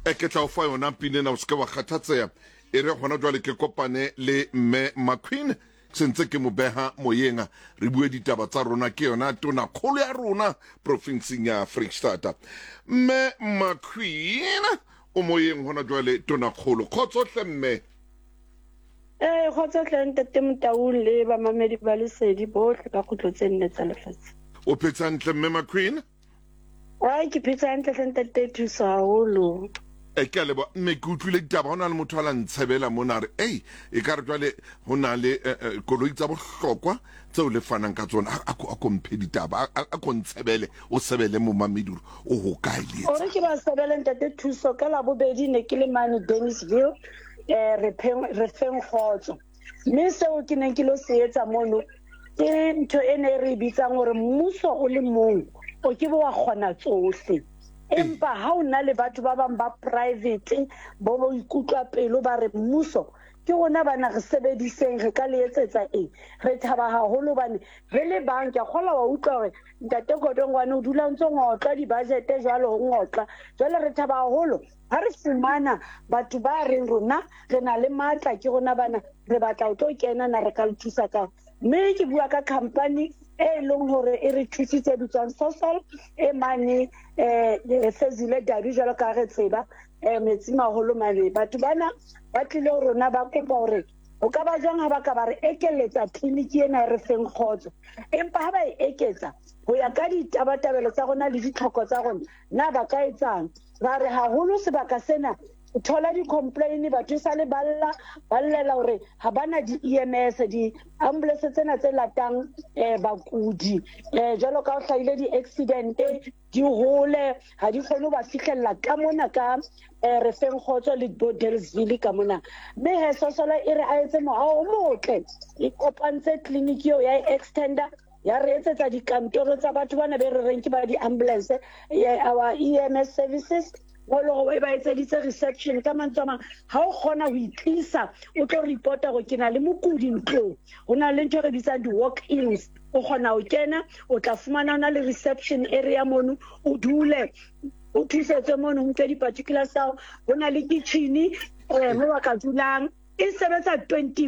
E ke tla o fa yona pina ena, o se ke wa kgathatseha. E re gona jwale ke kopane le mme McQueen, ke sentse ke mo beha moyeng, re bue ditaba tsa rona. Ke yona tona kgolo ya rona profinseng ya Freistata. Mme McQueen o moyeng gona jwale, tona kgolo. Kgotso hle mme. Ee, kgotso hle ntate Motaung le bamamedi ba Lesedi bohle ka kgutlo tse nne tsa lefatshe. O phetse hantle mme McQueen? Ai, ke phetse hantle hle ntate, thuso haholo. E, ke a leboha mme. Ke utlwile ditaba, ho na le motho a la ntshebela mona, a re ei, e ka re jwale ho na le eh, eh, koloi tsa bohlokwa tseo le fanang ka tsona. A ko mphe ditaba, a ko ntshebele, o sebele momamedi hore o hokae le Ore ke ba sebele ntate Thuso, ka Labobedi ne ke le mane Dennisville, eh re pheng re feng kgotso. Mme seo ke neng ke lo se etsa mono ke ntho e ne re e bitsang hore mmuso o le mong o ke be wa kgona tsohle. Empa ha o na le batho ba bang ba private bo bo ikutlwa pelo ba re mmuso ke rona bana re sebediseng, re ka le etsetsa eng, re thaba haholo hobane re le bang. Ke a kgolwa wa utlwa hore ntate Godongwane o dula ntse ngotlwa di-budget jwalo, ho ngotlwa jwale. Re thaba haholo ha re fumana batho ba reng rona re na le matla, ke rona bana re batla ho tlo kena, na re ka le thusa kang? Mme ke bua ka company e leng hore e re thusitse, bitswang Sosol, e mane Fezile Dabi, jwalo ka re tseba metsi maholo mane. Batho bana ba tlile ho rona ba kopa hore ho ka ba jwang ha ba ka ba re ekeletsa tleliniki ena e re feng kgotso. Empa ha ba e eketsa ho ya ka ditabatabelo tsa rona le ditlhoko tsa rona, na ba ka etsang? Ra re haholo sebaka sena o thola di-complain, batho e sale ba lla, ba llela hore ha ba na di-EMS, di-ambulance tsena tse latang bakudi, jwalo ka ho hlahile di-accident di hole, ha di kgone ho ba fihlella ka mona ka re feng kgotso le bo Dellsville ka mona. Mme he Sosola e re a etse moaho o motle, e kopantse clinic eo ya e extender, ya re etsetsa dikantoro tsa batho bana be re reng ke ba di-ambulance, our EMS services, mo e leng hore e ba etseditse reception. Ka mantswe a mang, ha o kgona ho itlisa o tlo reporta hore ke na le mokudi ntlong, ho na le ntho e re bitsang di-walk-ins, o kgona ho kena, o tla fumana ho na le reception area mono, o dule o thusetswe mono, ho nke di-particulars tsa hao. Ho na le kitchen mo ba ka dulang, e sebetsa 24.